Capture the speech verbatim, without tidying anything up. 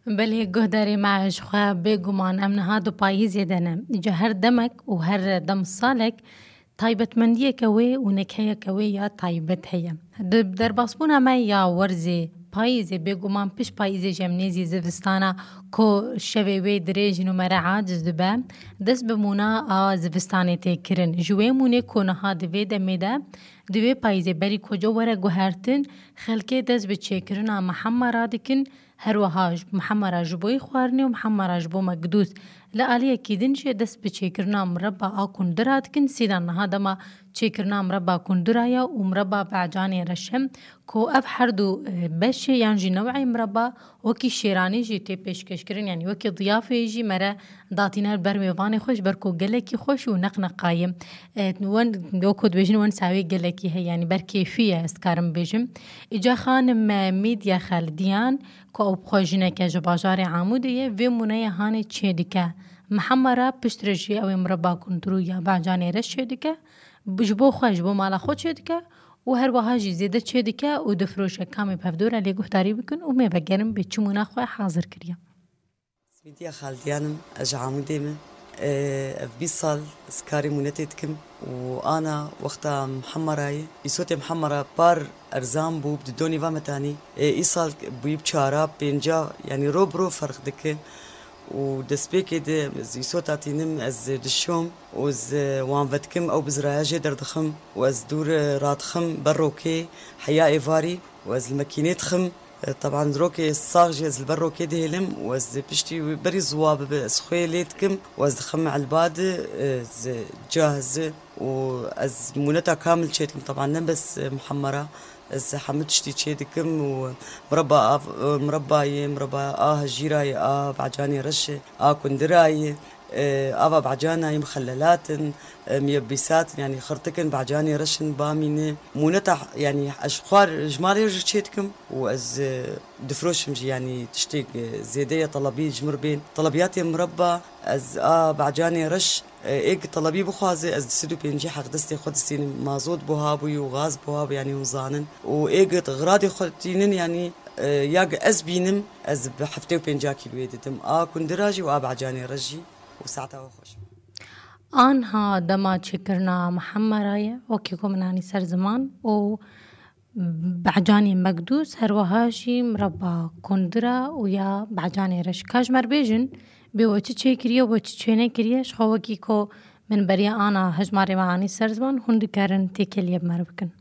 Belê guhdarê me ji xwe bêguman em niha di payîzê de ne. Îca her demek û her dem salek taybetmendiyeke wê û nekeyeke wê ya taybet heye. Di derbasbûna me ya werzê payîzê, bêguman pişt payîzê jî em nêzî zivistana ku şevê wê dirêj in û mere aciz dibe, dest bi mûna a zivistanê tê kirin. Ji wê mûnê ku niha di vê demê de, di vê payîzê berî koca were guhertin, xelkê dest bi çêkirina mihemera dikin, her wiha ji mihemera ji bo yê xwarinê û mihemera ji bo mekdûs. Li aliyekî din jî dest bi çêkirina mireba a kundira dikin, sîdan niha dema çêkirina mireba kundira ye û mireba be'canê reş e, ku ev her du, e, beşê yan jî new'ê mireba wekî şêranî jî tê pêşkêşkirin, yanî wekî diyafeyê jî mere datîne li ber mêvanê xwe, ji ber ku gelekî xweş û neqneqayî. E, wen, wek ku dibêjin, wen sawê gelekî heye, yanî ber kêfî ye, ez dikarim bêjim. Îca xanim, e, Mîdya Xeldiyan, ku ew bi xwe jineke ji bajarê Amûdê ye, vê mûneyê hanê çêdike. Mihemera piştre jî ew ê mireba kundirû ya be'canê reş çêdike, ji bo xwe, ji bo mala xwe çêdike û her wiha jî zêde çêdike û difiroşe. Kamê bi hevdû re lê guhdarî bikin û me vegerin bê çi mûna xwe hazir kiriye. Mîdya Xaldiyan im, ez ji Amûdê me. Ev bîst sal ez karê mûnetê dikim û ana wexta mihemera ye. Îsotê mihemera par erzan bû, bi didonî va metanî. Ê, îsal bûyî bi çara, pênca, yanî ro bi ro ferq dike. Û destpêkê de ez îsota tînim, ez dişom û ez wan vedikim, ew bizraya jê derdixim û ez dûr radixim ber rokê heya êvarî û ez li mekînê dixim. E, teban rokê sax jî ez li ber rokê dihêlim û ez piştî wî berî ziwa bibe ez xwê lê dikim û ez dixim elba de, e, ez cahiz û ez mûneta kamil çê dikim. Teban ne bes, e, mihemera, ez hemû tiştî çê dikim û mireba av, e, mireba yê, mireba a hejîra yê, a be'canê reş e, a kundira yê, e, ava be'cana yê, mixellelat in, e, miyebîsat in, yanî xirtik in, be'canê reş in, bamî ne. Mûneta, yanî ez ji xwar, ji malê jî çê dikim û ez, e, difiroşim jî, yanî tiştê, e, zêde ye telebî ji mir bên. Telebiyatê mireba, ez a be'canê reş, e, êg telebî bixwaze, ez du sed û pêncî heqdestê xwe distînim. Mazot buha bûyî û gaz buha bû, yanî hûn zanin. Û êg xiradê xwe tînin, yanî, e, ya ez bînim, ez bi heftê û pênca kîloyê didim. A kundira jî û a be'canê reş jî û saeta we xweş. Anha dema çêkirina mihemera ye, wekî ku min anî ser ziman û be'canê mekdûs, her wiha jî mireba kundira û ya be'canê reş. Ka ji me re bêjin, bê we çi çêkiriye, we çi çênekiriye, ji xwe wekî ku min beriya ana hejmarê me anî ser ziman, hûn dikarin têkiliyê bi me re bikin.